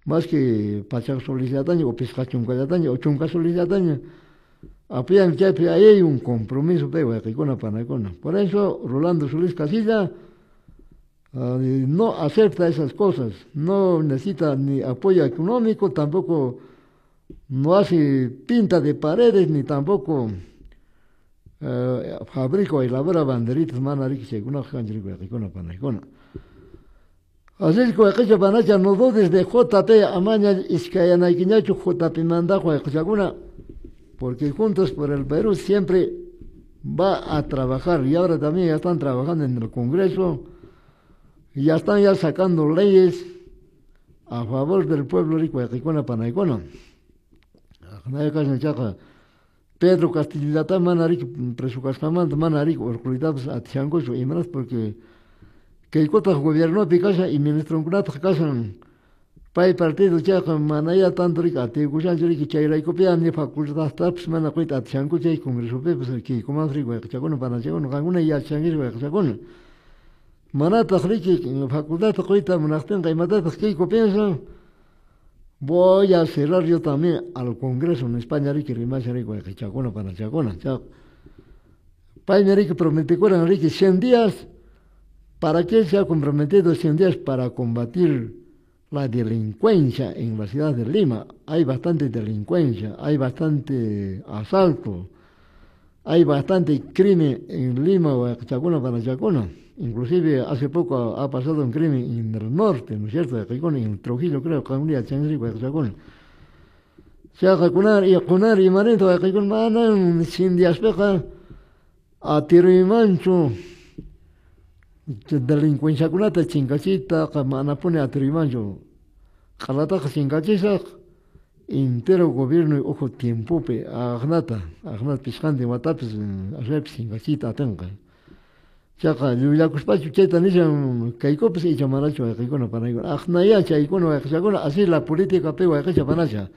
Más que pachak solesllataña o pisqa chunkallataña o chunka solesllataña apoyan chaypi ahí hay un compromiso pe wayqikuna panakuna. Por eso Rolando Solís Casilla no acepta esas cosas, no necesita ni apoyo económico, tampoco no hace pinta de paredes, ni tampoco fabrica o elabora banderitas mana riki chaykunaqa kanchu riki wayqikuna panakuna. Así es que wayqicha panacha no dudes de JP amaña iskayanaykiñachu JP mandaq wayqichakuna, porque Juntos por el Perú siempre va a trabajar y ahora también ya están trabajando en el Congreso, ya están ya sacando leyes a favor del pueblo rico wayqikuna panaykuna. Pedro Castillata mana riki preso kasqanmanta mana riki urquytapas atishankuchu imanaspa porque kaykutaq gobiernopi kashan y ministronkunataq kashan pay partido chayqa manaya tanto riki atiykushanchu riki chayraykupiya ni facultadtapas mana quyta atishankuchu chay congresopipas kaykumanpas riki wayqichakuna panachakuna qankuna yachashankichik wayqichakuna manataq riki facultadta quyta munaqtinqa imatataq kayku piensan voy a cerrar yo también al Congreso en España riki rimashan riki wayqichakuna panachakuna paymi riki prometikuran riki 100 días. ¿Para qué se ha comprometido 100 días? Para combatir la delincuencia en la ciudad de Lima. Hay bastante delincuencia, hay bastante asalto, hay bastante crimen en Lima, Huaycachacuna, Panachacuna. Inclusive hace poco ha pasado un crimen en el norte, ¿no es cierto? En Trujillo, creo, que un día Huaycachacuna. Se ha y cunar y manito, manan, 100 días peja, a tiro y mancho. Delincuenciakunata chinkachita manapuni atirimanchu q'alataqa chinkachisaq entero gobierno uhu tiempopi aqnata aqnata pishqantin watapis ashaypis chinkachiyta atinqa chaqa llullakuspachu chayta nishan kaykupis icha manachu wayqikuna panaykuna aqnaya chaykuna wayqichakuna así la política pi wayqicha panacha.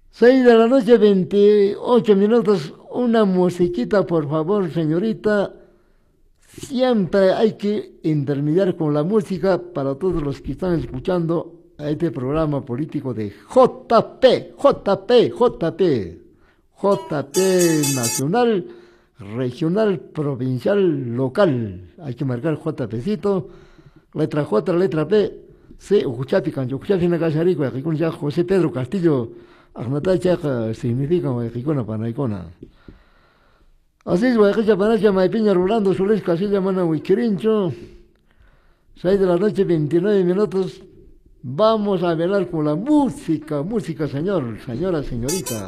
6 de la noche 28 minutos, una musiquita por favor señorita. Siempre hay que intermediar con la música para todos los que están escuchando a este programa político de JP, JP, JP, JP nacional, regional, provincial, local. Hay que marcar JPcito, letra J, letra P, C, Ujuchapi, Cancho, Ujuchapi, Nacacharico, José Pedro Castillo, Agnatachaca, significa Huayquicona, Panaicona. Así es, wayqicha panacha maypiña Rolando Solís Casilla mana wikirinchu. 6 de la noche, 29 minutos. Vamos a velar con la música, música, señor, señora, señorita.